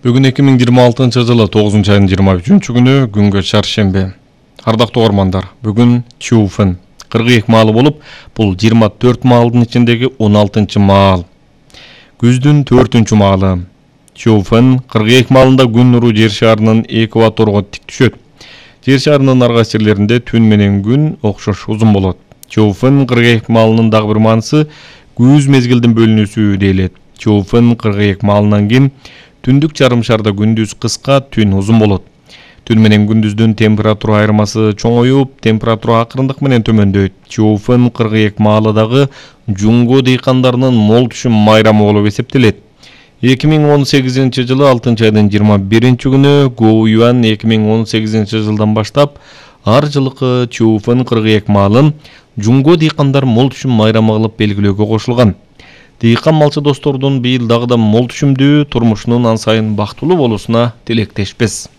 Бүгүн 2026-жылы 9-айдын 23-күнү күнгө чаршемби. Ардактуу угармандар, бүгүн Чуфын 42 маалы болуп, бул 24 маалдын ичиндеги 16-чы маал. Күздүн 4-чү маалы. Чуфын 42 маалында күн нуру жер шарынын экваторго тик түшөт. Жер шарынын арга жерлеринде түн менен күн окшош узун болот. Чуфын 42 маалынын дагы бир маанысы күз мезгилдин бөлүнүүсү дейлет. Чуфын 42 маалынан кийин түндүк жарым шарда күндүз кыска, түн узун болот. Түн менен күндүздүн температура айырмасы чоңоюп, температура акырындык менен төмөндөйт. Чуфын 42 маалы дагы жуңго дыйкандарынын мол түшүм майрамы болуп эсептелет. 2018-жылы 6-айдын 21-күнү Гоуюан 2018-жылдан баштап ар жылкы Чуфын 42 маалын жуңго дыйкандар мол түшүм майрамы кылып белгилөөгө кошулган. Дыйкан малчы достордун быйыл дагы да мол түшүмдүү турмушунун ан сайын бактылуу болуусуна тилектешпиз.